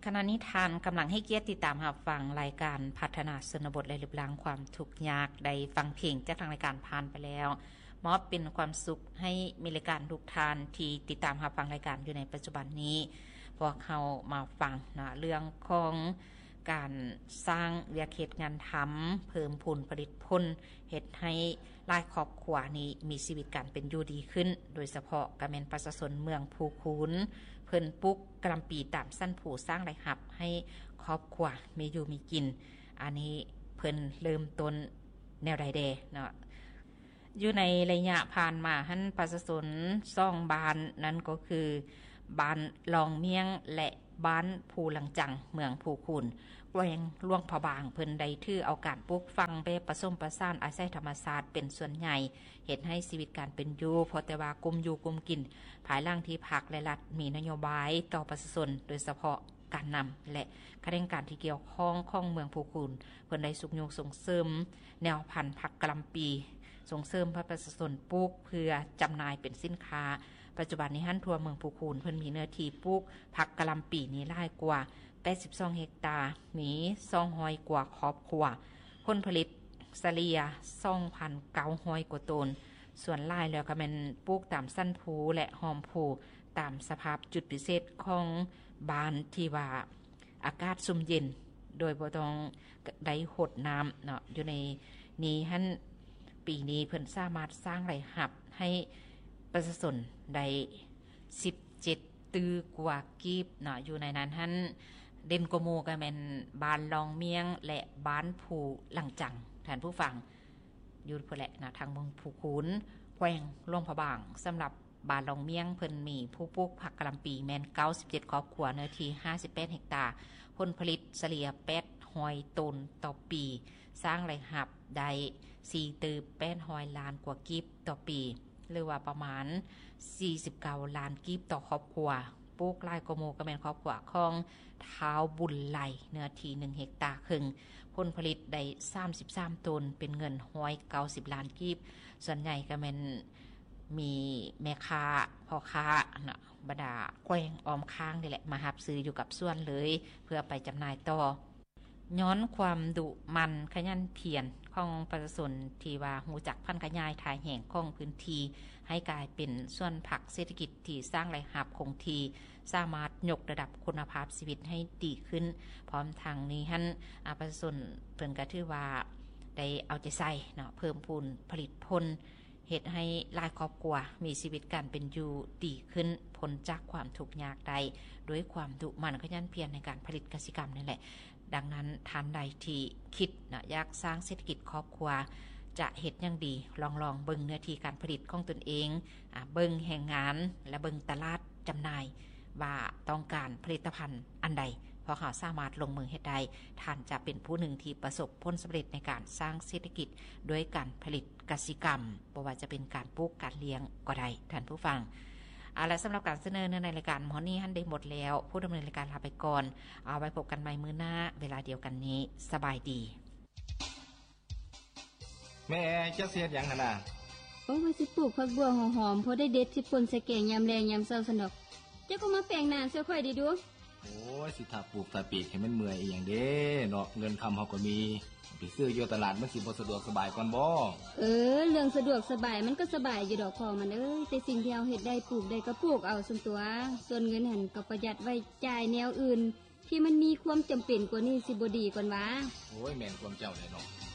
ຂະນະນີ້ທ່ານກຳລັງໃຫ້ກຽດຕິດຕາມຮັບຟັງລາຍການພັດທະນາຊົນນະບົດ ແລະ ລຶບລ້າງຄວາມທຸກຍາກ. ໄດ້ຟັງເພງຈາກທາງລາຍການຜ່ານໄປແລ້ວ ມອບເປັນຄວາມສຸກໃຫ້ມີລາຍການທຸກທ່ານທີ່ຕິດຕາມຮັບຟັງລາຍການຢູ່ໃນປັດຈຸບັນນີ້. ພວກເຮົາມາຟັງເນາະ ເລື່ອງຂອງການສ້າງວຽກເຮັດງານທຳ, ເພີ່ມພູນຜະລິດຜົນ, ເຮັດໃຫ້ຫຼາຍຄອບຄົວນີ້ມີຊີວິດການເປັນຢູ່ດີຂຶ້ນ, ໂດຍສະເພາະກໍແມ່ນປະຊາຊົນເມືອງພູຄູນ ເພິ່ນປູກກະຫຼ່ຳປີຕາມຊັ້ນພູ ສ້າງລາຍຮັບໃຫ້ຄອບຄົວມີຢູ່ມີກິນ. ອັນນີ້ເພິ່ນເລີ່ມຕົ້ນແນວໃດແດ່ເນາະ? ຢູ່ໃນໄລຍະຜ່ານມາຫັ້ນ ປະຊາຊົນສອງບ້ານ ນັ້ນກໍຄືບ້ານລອງມຽງ ແລະ ບ້ານພູຫຼັງຈັງ ເມືອງພູຄູນ ແຂວງຫຼວງພະບາງ ເພິ່ນໄດ້ຖືເອົາການປູກຝັງແບບປະສົມປະສານອາໄສທຳມະຊາດເປັນສ່ວນໃຫຍ່ ເຮັດໃຫ້ຊີວິດການເປັນຢູ່ພໍແຕ່ວ່າກຸ້ມຢູ່ກຸ້ມກິນ ພາຍຫຼັງທີ່ພັກ ແລະ ລັດມີນະໂຍບາຍຕໍ່ປະຊາຊົນ ໂດຍສະເພາະການນຳ ແລະ ຂະແໜງການທີ່ກ່ຽວຂ້ອງຂອງເມືອງພູຄູນ ເພິ່ນໄດ້ຊຸກຍູ້ສົ່ງເສີມແນວພັນຜັກກະຫຼ່ຳປີ ສົ່ງເສີມໃຫ້ປະຊາຊົນປູກເພື່ອຈຳໜ່າຍເປັນສິນຄ້າ. ປັດຈຸບັນນີ້ຫັ້ນ ທົ່ວເມືອງພູຄູນ ເພິ່ນມີເນື້ອທີ່ປູກຜັກກະຫຼ່ຳປີນີ້ຫຼາຍກວ່າແປດສິບສອງເຮັກຕາ, ມີສອງຮ້ອຍກວ່າຄອບຄົວ, ຜົນຜະລິດສະເລ່ຍສອງພັນເກົ້າຮ້ອຍກວ່າໂຕນ. ສ່ວນຫຼາຍແລ້ວກໍແມ່ນປູກຕາມຊັ້ນພູ ແລະ ຮ່ອມພູ ຕາມສະພາບຈຸດພິເສດຂອງບ້ານທີ່ວ່າ ອາກາດຊຸ່ມເຢັນ ໂດຍບໍ່ຕ້ອງໄດ້ຫົດນ້ຳເນາະ. ຢູ່ໃນນີ້ຫັ້ນ ປີນີ້ເພິ່ນສາມາດສ້າງລາຍຮັບໃຫ້ປະຊາຊົນໄດ້ສິບເຈັດຕື້ກວ່າກີບເນາະ. ຢູ່ໃນນັ້ນຫັ້ນ ເດັ່ນກວ່າໝູ່ກໍແມ່ນບ້ານລອງມຽງ ແລະ ບ້ານພູຫຼັງຈັງ ທ່ານຜູ້ຟັງ. ຢູ່ພຸ້ນແຫຼະນະ ທາງເມືອງພູຄູນ ແຂວງຫຼວງພະບາງ. ສຳລັບບ້ານລອງມຽງ ເພິ່ນມີຜູ້ປູກຜັກກະຫຼ່ຳປີແມ່ນເກົ້າສິບເຈັດຄອບຄົວ ເນື້ອທີ່ຫ້າສິບແປດເຮັກຕາ, ຜົນຜະລິດສະເລ່ຍແປດຮ້ອຍໂຕນຕໍ່ປີ, ສ້າງລາຍຮັບໄດ້ສີ່ຕື້ແປດຮ້ອຍລ້ານກວ່າກີບຕໍ່ປີ ຫຼືວ່າປະມານສີ່ສິບເກົ້າລ້ານກີບຕໍ່ຄອບຄົວ. ປູກຫຼາຍກວ່າໝູ່ກໍແມ່ນຄອບຄົວຂອງທ້າວບຸນໄຫຼ ເນື້ອທີ່ໜຶ່ງເຮັກຕາເຄິ່ງ, ຜົນຜະລິດໄດ້ສາມສິບສາມໂຕນ ເປັນເງິນຮ້ອຍເກົ້າສິບລ້ານກີບ. ສ່ວນໃຫຍ່ກໍແມ່ນມີແມ່ຄ້າ ພໍ່ຄ້າເນາະ ບັນດາແຂວງອ້ອມຂ້າງນີ້ແຫຼະ ມາຮັບຊື້ຢູ່ກັບສວນເລີຍ ເພື່ອໄປຈຳໜ່າຍຕໍ່. ຍ້ອນຄວາມດຸໝັ່ນຂະຫຍັນພຽນຂອງປະຊາຊົນ ທີ່ວ່າຮູ້ຈັກຜັນຂະຫຍາຍທ່າແຮງຂອງພື້ນທີ່ ໃຫ້ກາຍເປັນສວນຜັກເສດຖະກິດທີ່ສ້າງລາຍຮັບຄົງທີ່, ສາມາດຍົກລະດັບຄຸນນະພາບຊີວິດໃຫ້ດີຂຶ້ນ. ພ້ອມທັງນີ້ຫັ້ນ ອາ ປະຊາຊົນເພິ່ນກໍຖືວ່າໄດ້ເອົາໃຈໃສ່ເນາະ ເພີ່ມພູນຜະລິດຜົນ ເຮັດໃຫ້ຫຼາຍຄອບຄົວມີຊີວິດການເປັນຢູ່ດີຂຶ້ນ, ພົ້ນຈາກຄວາມທຸກຍາກໄດ້ ດ້ວຍຄວາມດຸໝັ່ນຂະຫຍັນພຽນໃນການຜະລິດກະສິກຳນີ້ແຫຼະ. ດັ່ງນັ້ນ ທ່ານໃດທີ່ຄິດເນາະ ຢາກສ້າງເສດຖະກິດຄອບຄົວ ຈະເຮັດຫຍັງດີ? ລອງ ລອງເບິ່ງເນື້ອທີ່ການຜະລິດຂອງຕົນເອງ, ອາ ເບິ່ງແຮງງານ ແລະ ເບິ່ງຕະຫຼາດຈຳໜ່າຍ ວ່າຕ້ອງການຜະລິດຕະພັນອັນໃດ, ພວກເຮົາສາມາດລົງມືເຮັດໄດ້. ທ່ານຈະເປັນຜູ້ໜຶ່ງທີ່ປະສົບຜົນສຳເລັດໃນການສ້າງເສດຖະກິດດ້ວຍການຜະລິດກະສິກຳ, ບໍ່ວ່າຈະເປັນການປູກ, ການລ້ຽງກໍໄດ້, ທ່ານຜູ້ຟັງ. ເອົາລະ, ສຳລັບການສະເໜີເນື້ອໃນລາຍການມື້ນີ້ຫັ້ນໄດ້ໝົດແລ້ວ. ຜູ້ດຳເນີນລາຍການລາໄປກ່ອນ. ເອົາໄວ້ພົບກັນໃໝ່ມື້ໜ້າເວລາດຽວກັນນີ້. ສະບາຍດີ. ແມ່ ເຈົ້າຊິເຮັດຫຍັງຫັ້ນນະ? ໂອ້ ວ່າຊິປູກຜັກບົ່ວຫົວຫອມ ພໍໄດ້ເດັດຊິປົ່ນໃສ່ແກງຍາມແລງຍາມເຊົ້າຊັ້ນດອກ. ເຈົ້າກໍມາແປງໜ້າຊ່ວຍຂ້ອຍແດ່ດູ. ໂອ້ຍ ຊິຖ້າປູກຖ້າປີກໃຫ້ມັນເມື່ອຍອີ່ຫຍັງເດ້ເນາະ, ເງິນຄຳເຮົາກໍມີ, ໄປຊື້ຢູ່ຕະຫຼາດມັນຊິບໍ່ສະດວກສະບາຍກ່ອນບໍ? ເອີ ເລື່ອງສະດວກສະບາຍມັນກໍສະບາຍຢູ່ດອກພໍ່ມັນເອີຍ, ແຕ່ສິ່ງທີ່ເຮົາເຮັດໄດ້ ປູກໄດ້ກໍປູກເອົາຊັ້ນຕົວະ. ສ່ວນເງິນຫັ້ນກໍປະຢັດໄວ້ຈ່າຍແນວອື່ນ ທີ່ມັນມີຄວາມຈຳເປັນກວ່ານີ້ຊິບໍ່ດີກ່ອນຫວາ? ໂອ້ຍ ແມ່ນຄວາມເຈົ້າແຫຼະເນາະ.